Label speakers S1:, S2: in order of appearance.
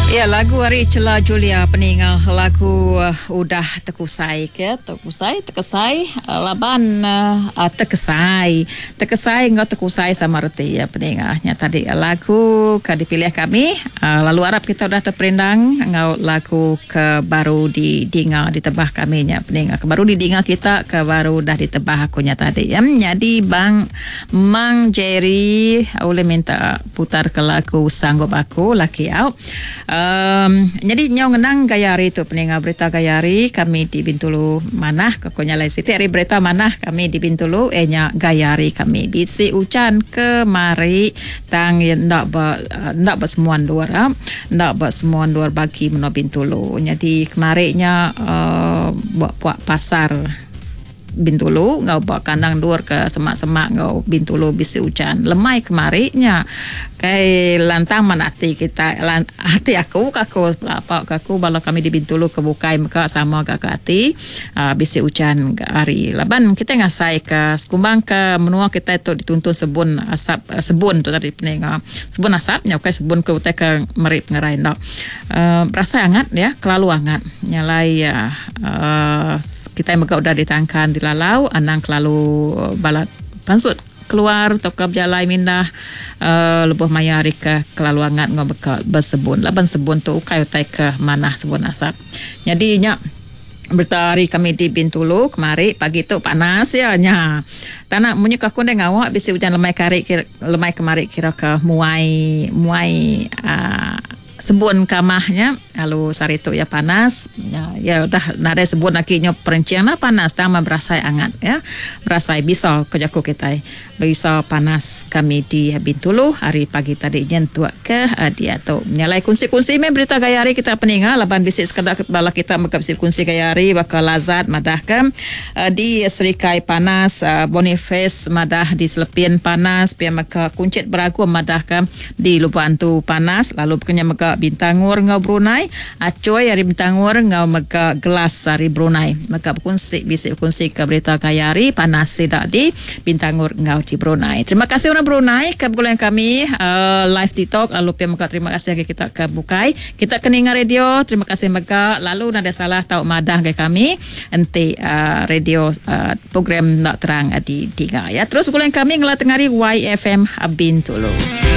S1: Ya lagu ari Chela Julia peninga lagu udah tekusai ke tekusai tekesai laban tekesai tekesai enggau tekusai sama reti ya peninga nya tadi lagu ke dipilih kami lalu arap kita udah teperindang enggau lagu ke baru didinga ditebah kami nya peninga ke baru didinga kita ke baru udah ditebah aku nya tadi ya nyadi bang Mang Jerry ulih minta putar ke lagu Sanggup Aku laki au. Um nyadi nyau ngenang gaya hari tu peninga berita gaya hari kami di Bintulu manah ke ko nyalai siti ari berita manah kami di Bintulu iya nya gaya hari kami bisi ujan kemari tang iya enda ba enda ba semua endur au enda ba semua endur bagi menua Bintulu. Nyadi kemari nya um ba puak pasar. Bintulu enggau ba kandang endur ke semak-semak enggau Bintulu bisi ujan lemai kemari nya. Kai lantang man ati kita ati aku ka aku pelaba ka aku bala kami di Bintulu ke bukai mega sama ga ke ati uhh bisi ujan ga hari laban kitai ngasai ka sekumbang ke menua kitai tu dituntun sebun asap sebun tu tadi peninga sebun asap nya ukai sebun ke utai ke meri pengerai enda. Uhh berasai angat iya kelalu angat nya alai uhh kitai mega udah ditangkan dilalau anang kelalu balat pansut keluar tauka bejalai mindah uhh lebuh maya hari ke kelalu angat enggau beka besebun laban sebun tu ukai utai ke manah sebun asap. Nyadi nya berita hari kami di Bintulu kemari pagi tu panas iya nya. Tanak munyi ku aku ndai ngawa bisi ujan lemai kari lemai kemari kira ke muai muai uhh Sebun kamah nya lalu sehari tu iya panas iya udah nadai sebun agi nyau perenching enda panas tang meh berasai angat iya berasai bisa ku jaku kitai bisa panas kami di Bintulu hari pagi tadi nyentuk ke diatu. Nya alai kunsi-kunsi meh berita gaya hari kita peninga laban bisi sekeda bala kita mega bisi bekunsi gaya hari baka Lazat madahka di Serikai panas Boniface madah di Selepin panas pia mega Kunchit Beragum madahka Di Lubok Antu panas lalu baka nya mega Bintangor enggau Brunei, Achoi ari Bintangor enggau mega Gelas ari Brunei mega bekunsi bisi bekunsi ke berita gaya hari panas sida di Bintangor enggau di Brunei. Terima kasih orang Brunei ke begulai enggau kami live TikTok lalu pia mega terima kasih agi kita ke bukai. Kita ke ninga radio terima kasih mega lalu nadai salah tau madah ngagai kami enti radio Program enda terang di dinga ya. Terus begulai kami ngela tengari YFM Bintulu.